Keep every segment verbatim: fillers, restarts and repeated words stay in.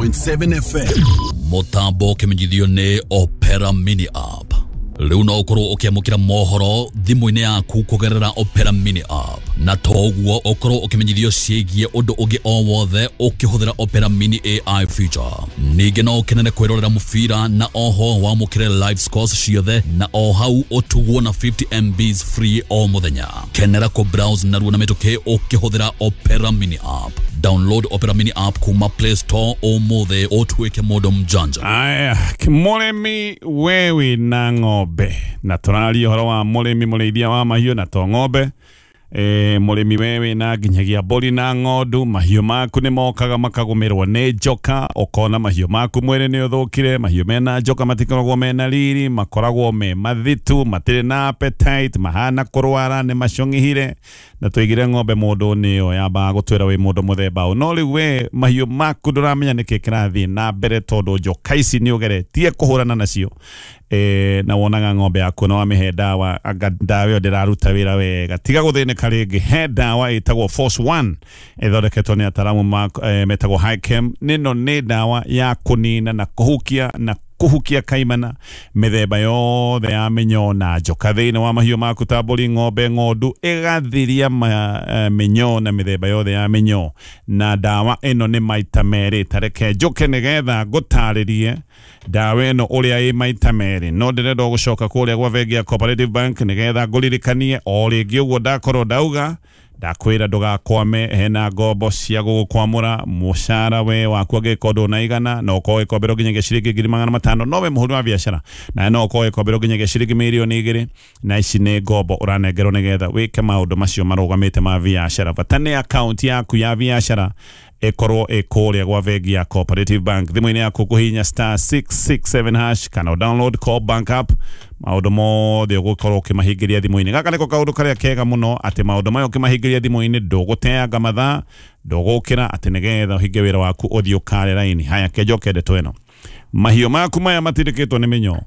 point seven F M. Mutambo kimenyithio ni Opera Mini App. Rĩu no ũkorwo ũkĩamũkĩra mohoro thimũ-inĩ yaku kũgerera Opera Mini App, na toguo ũkorwo ũkĩmenyithio ciĩgiĩ ũndũ ũngĩ o wothe ũkĩhũthĩra Opera Mini A I feature. Ningĩ no ũkenere kwĩrorera mũbira na oho wamũkĩre live scores ciothe na o hau ũtugwo na fifty M Bs free o mũthenya. Kenera kũ browse narua na mĩtũkĩ ũkĩhũthĩra Opera Mini App. Download Opera Mini App kuma Play Store ũmũthĩ ũtuĩke mũndũ mjanja. Aya, mũrĩmi wewe na ng'ombe, na tũraria ũhoro wa mũrĩmi mũrĩithia wa mahiũ na to ng'ombe. E, mũrĩmi wewe na nginyagia mbũri na ng'ondu, mahiũ maku nĩ mokaga makagũmĩrwo nĩ njoka, ũkona mahiũ maku mwĩrĩ nĩ ũthũkire. Mahiũ mena njoka matikoragwo mena riri, makoragwo me mathitu, matirĩ na appetite, mahana kũrwara, nĩ macũng'ihire. Na tũigire ng'ombe mũndũ nĩyo yambaga gũtwĩra wĩ mũndũ mũthemba ũyũ, no rĩu we mahiũ maku ndũramenya nĩkĩ kĩrathiĩ na mbere tondũ njoka ici nĩ ũgeretie kũhũrana nacio. E, na wonaga ng'ombe yaku na wamĩhe ndawa, anga ndawa ĩyo ndĩraruta wĩra wega, tiga gũthĩnĩka rĩngĩ. He ndawa ĩtagwo Force One ĩthondeketwo nĩ ataramu ma, e, metagwo Hichem. Nĩno nĩ ndawa ya kũnina na kũhukia na kũhukia kaimana mĩthemba yothe ya mĩnyoo na njoka thĩinĩ wa mahiũ maku ta mbũri, ng'ombe, ng'ondu, ĩgathiria ma, e, mĩnyoo na mĩthemba yothe ya mĩnyoo. Na ndawa ĩno nĩ maita merĩ, tareke njũke nĩgetha ngũtarĩrie ndawa ĩno ũrĩa ĩ maita merĩ. No ndĩrenda gũcoka kũrĩa gwa bengi ya Cooperative Bank nĩgetha ngũririkanie o rĩngĩ ũguo ndakorwo ndauga, ndakwĩra ndũgakwame, hena ngombo cia gũgũkwamũra mũcara we waku angĩkorwo ndũnaigana, no ũkorwo ũgĩkomberwo nginyagia ciringi ngiri magana matano, no we mũhũri wa biacara na no ũkorwo ũgĩkomberwo nginyagia ciringi mirioni igĩrĩ, na ici nĩ ngombo ũranengerwo nĩgetha wĩke maũndũ macio marũgamĩte ma biacara. Bata nĩ akaunti yaku ya biacara ĩkorwo ĩ kũrĩa gwa bengi ya Cooperative Bank. Thimũ-inĩ yaku kũhihinya star six six seven hash kana download Co-op Bank app, maũndũ mothe ũgũkorwo ũkĩmahingĩria thimũ-inĩ. Gaka nĩko kaũndũ karĩa kega mũno, atĩ maũndũ maya ũkĩmahingĩria thimũ-inĩ ndũgũteanga mathaa, ndũgũkĩra atĩ nĩgetha ũhinge wĩra waku ũthiĩ ũkare raini. Haya, kenjoke ndeto ĩno. Mahiũ maku maya matindĩkĩtwo nĩ mĩnyoo,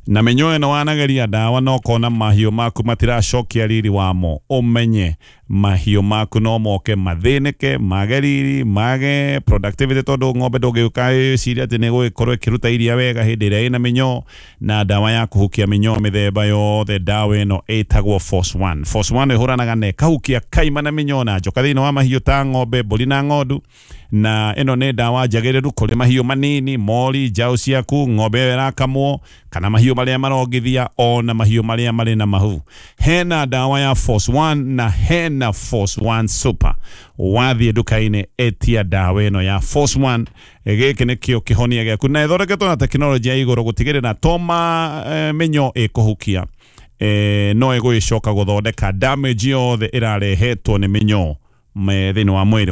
na mĩnyoo ĩno wanageria ndawa na ũkona mahiũ maku matiracokia riri wamo, ũmenye mahiũ maku no moke mathĩnĩke, mage riri, mage productivity, tondũ ng'ombe ndũngĩũka ĩcirie atĩ nĩ ĩgũgĩkorwo ĩkĩruta iria wega hĩndĩ ĩrĩa ĩna mĩnyoo. Na ndawa ya kũhukia mĩnyoo mĩthemba yothe, ndawa ĩno ĩtagwo Force One. Force One ĩhũranaga na ĩkahukia kaima na mĩnyoo na njoka thĩinĩ wa mahiũ ta ng'ombe, mbũri na ng'ondu. Na ĩno nĩ ndawa njagĩrĩru kũrĩ mahiũ manini, mori, njaũ ciaku, ng'ombe ĩyo ĩrakamwo, kana mahiũ marĩa marongithia, ona mahiũ marĩa marĩ na mahu. Hena ndawa ya Force One na hena Force One Super. Wathiĩ nduka-inĩ etia ndawa ĩno ya Force One. Gĩkĩ nĩkĩo kĩhonia gĩaku, na ĩthondeketwo na tekinoronjĩ ya igũrũ gũtigĩrĩra to ma e, mĩnyoo ĩkũhukia, e, no ĩgũgĩcoka gũthondeka damage yothe ĩrarehetwo nĩ mĩnyoo thĩinĩ wa mwĩrĩ.